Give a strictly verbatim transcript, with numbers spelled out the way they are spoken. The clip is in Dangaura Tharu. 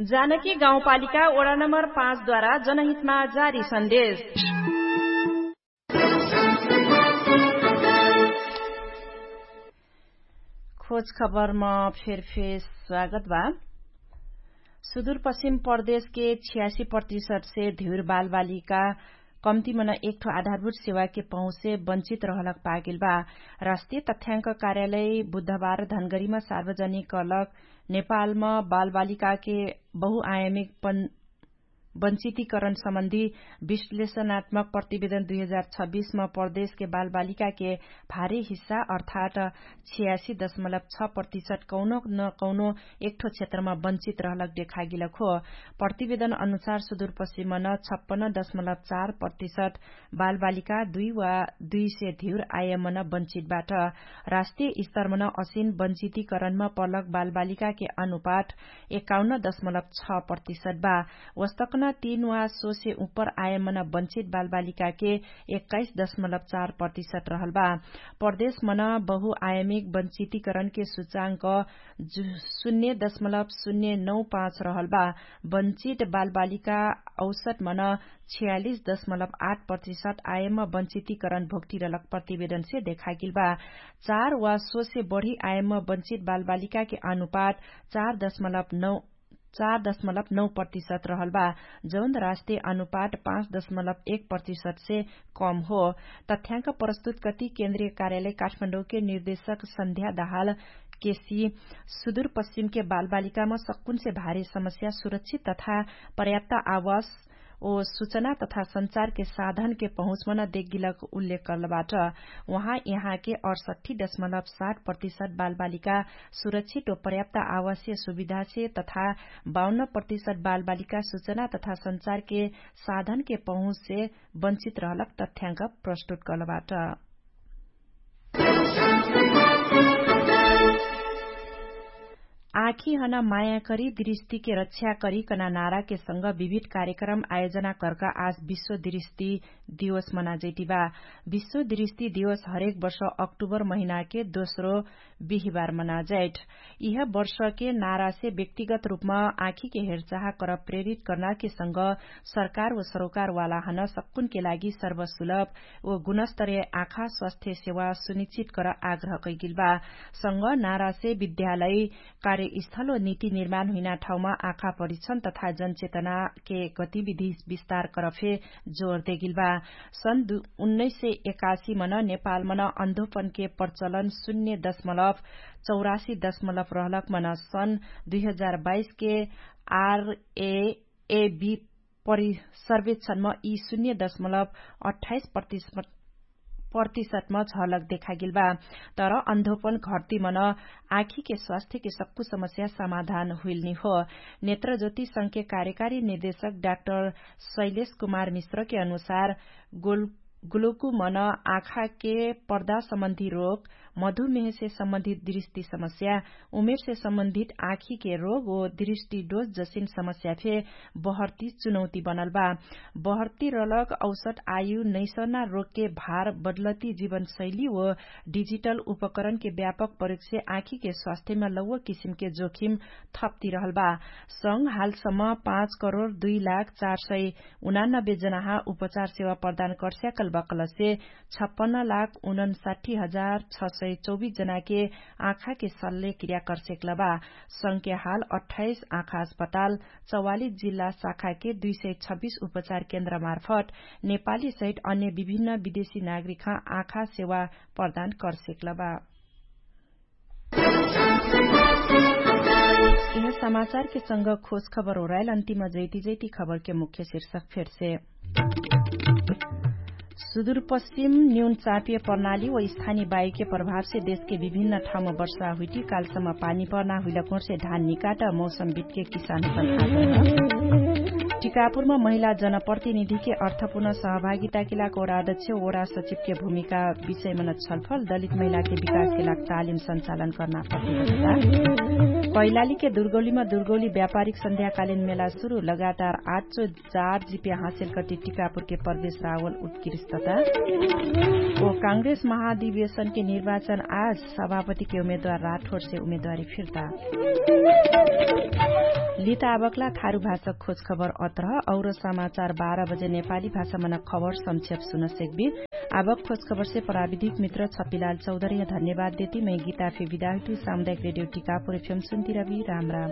जानकी गाउँपालिका Voda number पाँच द्वारा जनहितमा जारी सन्देश। खोज खबरमा फेरफेर स्वागत बा। सुदूर पश्चिम प्रदेशके छियासी प्रतिशतसे धिउर बालबालिका कम्तिमन एकठो आधारभूत सेवाके पहुँचसे बन्चित रहलक पागेल बा। राष्ट्रिय तथ्याङ्क कार्यालय बुधबार धनगरीमा सार्वजनिक कलक नेपालमा बालबालिकाके बहुआयमिक बन्चितिकरण सम्बन्धी विश्लेषणात्मक प्रतिवेदन दुई हजार छब्बिसमा प्रदेशके बालबालिकाके भारी हिस्सा अर्थात् छियासी दशमलब छ प्रतिशत कौनो न कौनो एकठो क्षेत्रमा बन्चित रहलक देखागिलक हो। प्रतिवेदन अनुसार सुदूरपश्चिमन छप्पन्न दशमलब चार प्रतिशत बालबालिका दुई वा दुई से धिउर आयमन बन्चित बाट। राष्ट्रिय स्तरमन असिन बन्चितिकरणमा पलक बालबालिकाके अनुपात एकाउन्न दशमलब छ प्रतिशत बा। वस्तकन तीन वा सोसे उपर आयमन बन्चित बालबालिकाके एक्काइस दशमलब चार प्रतिशत रहल बा। प्रदेशमन बहुआयमिक बन्चितिकरणके सुचाङ्क शून्य दशमलब शून्य नौ पाँच रहल बा। बन्चित बालबालिका औसतमन छियालिस दशमलब आठ प्रतिशत आयममा बन्चितिकरण भोक्टिरलक प्रतिवेदनसे देखागिल बा। चार वा सोसे बढी आयममा बन्चित बालबालिकाके अनुपात चार दशमलब नौ चार दशमलब नौ प्रतिशत रहल बा, जौन राष्ट्रिय अनुपात पाँच दशमलब एक प्रतिशतसे कम हो। तथ्याङ्क प्रस्तुत कति केन्द्रिय कार्यालय काठमाडौँके निर्देशक सन्ध्या दहाल केसी सुदूरपश्चिमके बालबालिकामा सक्कुनसे भारी समस्या सुरक्षित तथा पर्याप्त आवास ओ सुचना तथा सञ्चारके साधनके पहुँचमन देगिलक उल्लेख करलबाट। उहाँ यहाँके अडसठ्ठी दशमलब सात प्रतिशत बालबालिका सुरक्षित ओ पर्याप्त आवासीय सुविधासे तथा बाउन्न प्रतिशत बालबालिका सुचना तथा सञ्चारके साधनके पहुँचसे बन्चित रहलक तथ्याङ्क प्रस्तुत करलबाट। आँखिहन माया करी दृष्टिके रक्षा करी कना नाराके संग विविध कार्यक्रम आयोजना करका आज विश्व दृष्टि दिवस मनाजैतिबा। विश्व दृष्टि दिवस हरेक वर्ष अक्टुबर महिनाके दोस्रो बिहिबार मनाजैट। इह वर्षके नारासे व्यक्तिगत रूपमा आँखिके हेरचाह कर प्रेरित कर्नाके संग सरकार व सरोकारवालाहन सक्कुनके लागि सर्वसुलभ व गुणस्तरे आँखा स्वास्थ्य सेवा सुनिश्चित कर आग्रह कैगिलबा। संग नारासे विद्यालय कार्यस्थल व नीति निर्माण हुइना ठाउँमा आँखा परिक्षण तथा जनचेतनाके गतिविधि विस्तार करफे जोर देगिलबा। सन् उन्नैस सय एकासी मन नेपाल मन अन्धोपनके प्रचलन शून्य दशमलव चौरासी दशमलव रहलक मन सन् दुई हजार बाइसके आरएएबी सर्वेक्षणमा यी शून्य दशमलव अठाइस प्रतिशत प्रतिशतमा झलक देखागेल बा। तर अन्धोपन घट्ती मन आँखीके स्वास्थ्यके सक्कु समस्या समाधान हुइलनी हो। नेत्रज्योति संघके कार्यकारी निर्देशक डाक्टर शैलेश कुमार मिश्रके अनुसार ग्लोकु मन आँखाके पर्दा सम्बन्धी रोग, मधुमेहसे सम्बन्धित दृष्टि समस्या, उमेरसे सम्बन्धित आँखीके रोग ओ दृष्टि डोज जसिन समस्या फे बहर्ती चुनौती बनल बा। बहर्ती रलक औसत आयु नैसना रोगके भार बदलती जीवनशैली ओ डिजिटल उपकरणके व्यापक प्रयोगसे आँखीके स्वास्थ्यमा लौव किसिमके जोखिम थप्ती रहल बा। संग हालसम्म पाँच करोड दुई लाख चार सय उनानब्बे जनाहा उपचार सेवा प्रदान कर्स्याकल बकलसे छप्पन्न लाख उनन्साठी हजार छ सय चौबिस जनाके आँखाके सल्ले क्रिया कर्सेकल बा। संघके हाल अठाइस आँखा अस्पताल चौवालिस जिल्ला शाखाके दुई सय छब्बिस उपचार केन्द्रमार्फत नेपाली सहित अन्य विभिन्न विदेशी नागरिकहा आँखा सेवा प्रदान कर्सेकल बा। यह समाचारके संग खोज खबर ओराइल अन्तिम जैती जैती खबरके मुख्य शीर्षक फेरसे। सुदूरपश्चिम न्यून चापिय प्रणाली व स्थानी बायुके प्रभावसे देशके विभिन्न ठाउँमा वर्षा हुइटी कालसम्म पानी पर्ना हुइलक होरसे धान निकाट मौसम बितके किसानपन आगत। टिकापुरमा महिला जनप्रतिनिधिके अर्थपुर्ण सहभागिताके लाग ओरादक्ष ओरा सचिवके भूमिका विषयमन छलफल दलित महिलाके विकासके लाग तालिम सञ्चालन कर्ना प्रतिबद्धता। कैलालीके दुर्गौलीमा दुर्गौली व्यापारिक सन्ध्याकालिन मेला सुरु लगातार आठ सौ चार जिपिया हासिल कति टिकापुरके प्रवेश रावल उत्कृष्टता। ओ काङ्ग्रेस महाधिवेशनके निर्वाचन आज सभापतिके उमेदवार राठोरसे उमेदवारी फिर्ता। लित आबकला थारु भाषक खोजखबर अत्रह। और समाचार बाह्र बजे नेपाली भाषा मना खबर संक्षेप सुन सेक्बी। आबक खोजखबरसे प्राविधिक मित्र छपिलाल चौधर्य धन्यवाद देती मै गीताफे विदाहुइतु। सामुदायिक रेडियो टिकापुर एफएम सुन्तिरबी। राम राम।